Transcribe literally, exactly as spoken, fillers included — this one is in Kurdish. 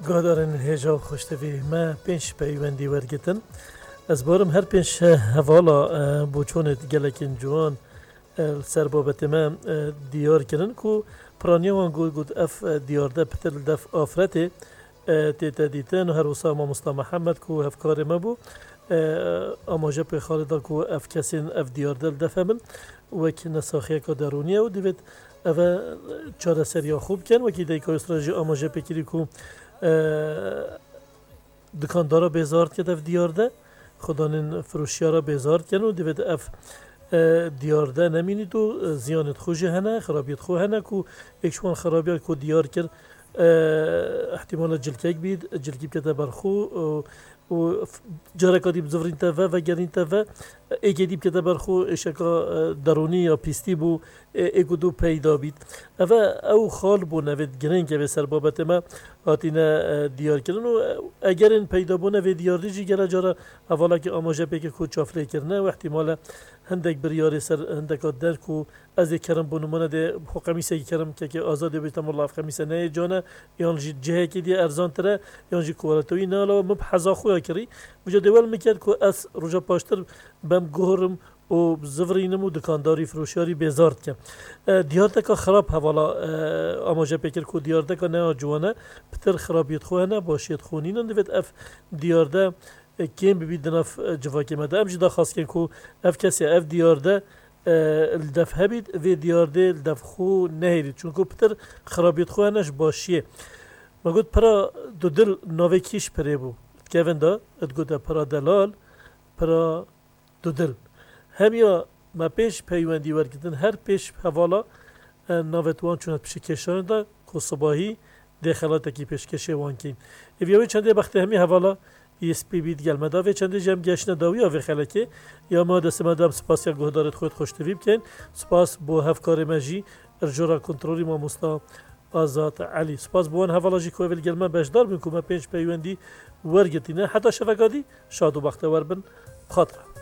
Guhdarên hêja û xweştevî me pênc peywendî wergitin. Ez barim her pênc hevala, e, boçonê gelekên ciwan, e, li ser babetê me, e, diyar kirin ku piraniya wan got, got ev, e, diyarde pitir li def afretê, e, tête dîtin û her wisa mamosta Mihemed ku hevkarê me bû, e, amaje pê xalê da ku ev kesên ev diyarde li def hebin wek nesaxiyeka derûnî ye û divêt ev e çareseriya xwe bikin. Wekî Dayika Yusra jî amaje pê kirî ku, e, dikandara bêzar diket ev diyarde, xudanên firoşiyara bêzar dikin û divêt ev, e, diyarde nemînît û, e, ziyanêt xwe jî hene, xirabiyêt xwe hene ku êk ji wan xirabiyan ku diyar kir, e, ihtimala cilkek bît, cilkî bikete ber xwe, e, û f-, careka dî bizivirînte ve, vegerînte ve, êkê dî bikete ber xwe, êşeka, e, derûnî ya pîstî bû, e, êk û du peyda bît. Ev e, ew xal bûn, ev ê girîng, ev ê ser babetê me hatine, e, diyar kirin û, e, egerên peydabûna vê diyardî jî gele cara hevalekî amaje pê kir ku çavlêkirine û ihtimale hindek biryarê ser hindeka der ku ez ê kerim bo nimûne dê xwe qemîsekî kerim kekê Azadê bî, temalla ev qemîse neyê can e, yan jî cihekî dî erzantir e, yan jî kualite wî ne ala min bi heza xwe ya kirî. Vêca dê wel min kerd ku ez roja paştir bem guhirim û zivirînim û dikandarî firoşiyarî bêzar dikim. E, diyardeka xirab hevala, e, amaje pê kir ku diyardeka ne ya ciwan e, pitir xirabiyêt xwe hene, başiyêt xwe nînin. Divêt ev diyarde, e, kêm bibît di nav, e, civakê me de. Em jî daxwaz kirin ku ev kesê, ev diyarde, e, li def hebît, vê diyardê li def xwe nehêlît. Çunku pitir xirabiyêt xwe hene ji başiyê. Me got pira dudil navê kî ji pirê bû? Dikevin de, digote pira delal, pira dudil. Hemiya me pênc peywendî wergitin, her pênc hevala, e, navê wan çûne piştî kêşanê de ku sibahî dê xelatekî pêşkêşê wan kîn. Êviya wê çendê bextê hemî hevala yê spî bî digel me da. Vê çendê jî em geştine dawiya vê xelekê. Ya me destê me da em spasiya guhdarêt xwe xweştivî bikeyn. Spas bo hevkarê me jî, erjora kontrolî mamosta Azad Elî. Spas bo wan hevala jî ku ev li gel me beşdar bin ku me pênc peywendî wergirtîne. Heta şeveka dî şad û bextewer bin. Bi xatir.